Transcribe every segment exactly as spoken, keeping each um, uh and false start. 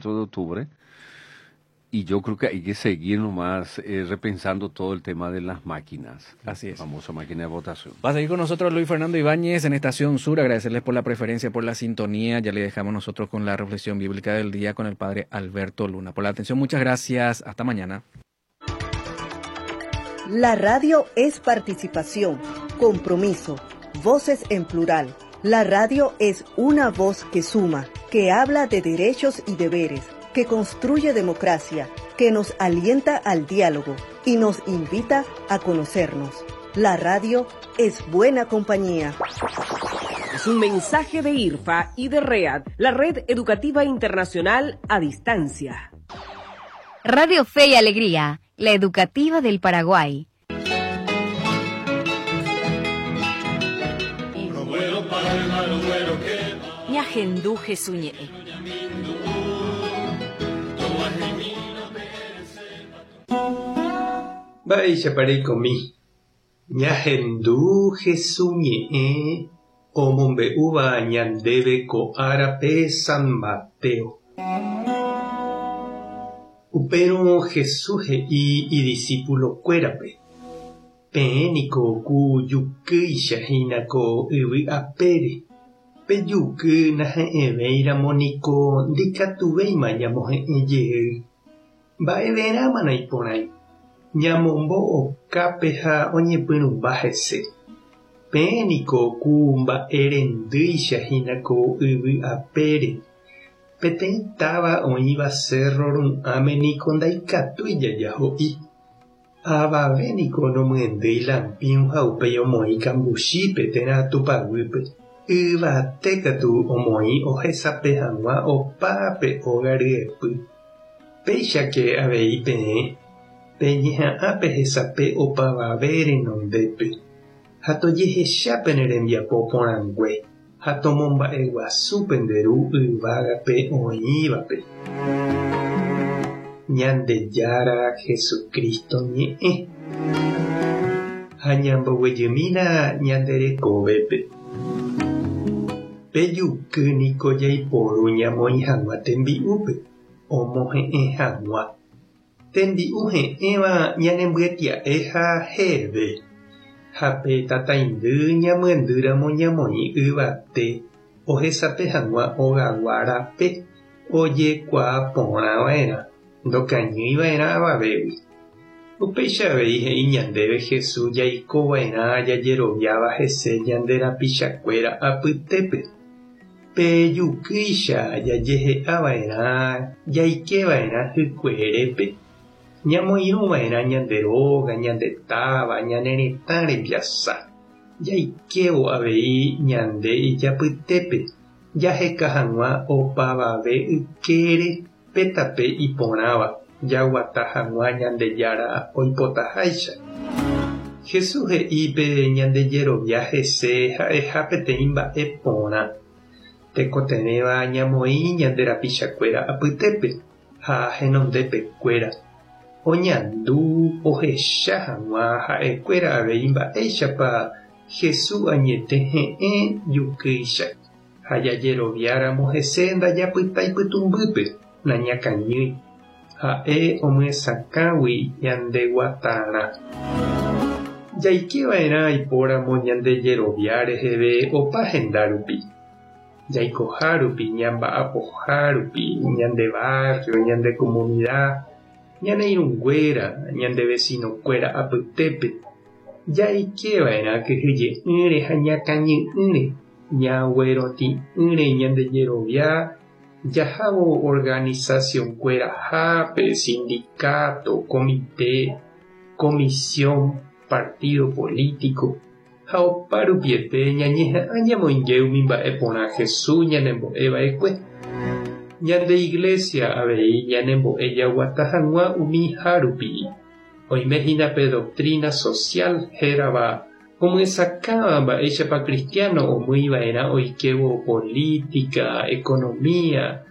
veinticuatro de octubre. Y yo creo que hay que seguir nomás eh, repensando todo el tema de las máquinas. Así es. La famosa máquina de votación. Va a seguir con nosotros Luis Fernando Ibáñez en Estación Sur. Agradecerles por la preferencia, por la sintonía. Ya le dejamos nosotros con la reflexión bíblica del día con el padre Alberto Luna. Por la atención, muchas gracias. Hasta mañana. La radio es participación, compromiso, voces en plural. La radio es una voz que suma, que habla de derechos y deberes, que construye democracia, que nos alienta al diálogo y nos invita a conocernos. La radio es buena compañía. Es un mensaje de I R F A y de READ, la Red Educativa Internacional a Distancia. Radio Fe y Alegría, la educativa del Paraguay. Ñahendu Jesús ñe'ẽ. Mba'éichapa reikomi. Ñahendu Jesús ñe'ẽ omombe'úva ñandéve ko árape San Mateo. Upérõ Jesús he'i idiscipulokuérape: Peẽ niko ku jukýicha hína ko yvy apére. Pe juky nahe'ẽvéiramo niko ndikatuvéima ñamohe'ẽ jey. Mba'everãma naiporãi. Ñamombo okápe ha oñepyrũmba hese. Peẽ niko ku mba'erendýicha hína ko yvy apére. Peteĩ táva oĩva cerro ru'ãme niko ndaikatúi jajaho'i. Avave niko nomyendýi lampiũ ha upéi omoĩ kambuchípe térã tupaguýpe. Yvate katu omoĩ ohesape hag̃ua opa pe óga ryepy. Péichake avei peẽ peñeha'ã pehesape opavave renondépe ha tojehecha pene rembiapo porãngue ha tomomba'eguasu pende Ru yvágape oĩvape. Ñandejára Jesucristo ñe'ẽ. Ha ñamboguejymína ñande rekovépe. Pe juky niko jaiporu ñamoĩ hag̃ua tembi'úpe, omohe'ẽ hag̃ua. Tembi'u he'ẽva ñanembyetia'e ha heve. Ha pe tataindy ñamyendýramo ñamoĩ yvate ohesape hag̃ua ogagua rape ojekuaaporãva'erã, ndokañýiva'erã avavégui. Upéicha avei he'i ñandéve Jesús jaikova'erã jajeroviáva hese ñande rapichakuéra apytépe. Pe jukýicha jajehe'ava'erã jaikeva'erã hykuerépe. Ñamoirũva'erã ñande róga, ñande táva, ñane retã rembiasa. Jaikévo avei ñande ijapytépe jaheka hag̃ua opavave ykére pe tape iporãva jaguata hag̃ua Ñandejára oipotaháicha. Jesús he'i pe ñandejerovia hese ha'eha peteĩ mba'e porã. Tekotevẽva ñamoĩ ñande rapichakuéra apytépe ha henondepekuéra. Oñandu ohecha hag̃ua ha'ekuéra avei mba'éichapa Jesús añete he'ẽ jukýicha ha jajeroviáramo hese ndajapytái pytũmbýpe nañakañýi. Ha'e omyesakãgui ñandeguatarã. Jaikeva'erã aipóramo ñandejerovia reheve opa henda rupi. Jaikoha rupi, ñamba'apoha rupi, ñande barrio, ñande comunidad, ñane irũnguéra, ñande vecinokuéra apytépe. Jaikeva'erã kyhyje'ỹre ha ñakañy'ỹre, ñaguerotĩ'ỹre ñandejerovia jahávo organizacionkuerahápe, sindicato, comité, comisión, partido político ha opa rupiete ñañeha'ã ñamoinge umi mba'e porã Jesús ñanembo'eva'ekue. Ñande iglesia avei ñanembo'e jaguata hag̃ua umi hárupi. Oime hína pe doctrina social hérava omyesakãva mba'éichapa cristiano omýiva'erã oikévo política, economía,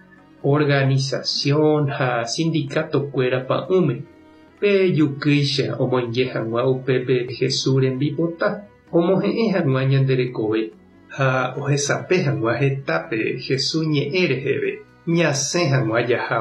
organización ha sindicatokuéra pa'ũme. Pe jukýicha omoinge hag̃ua upépe Jesús rembipota, omohe'ẽ hag̃ua ñande rekove ha ohesape hag̃ua hetápe Jesús ñe'ẽ reheve ñasẽ hag̃ua jaha.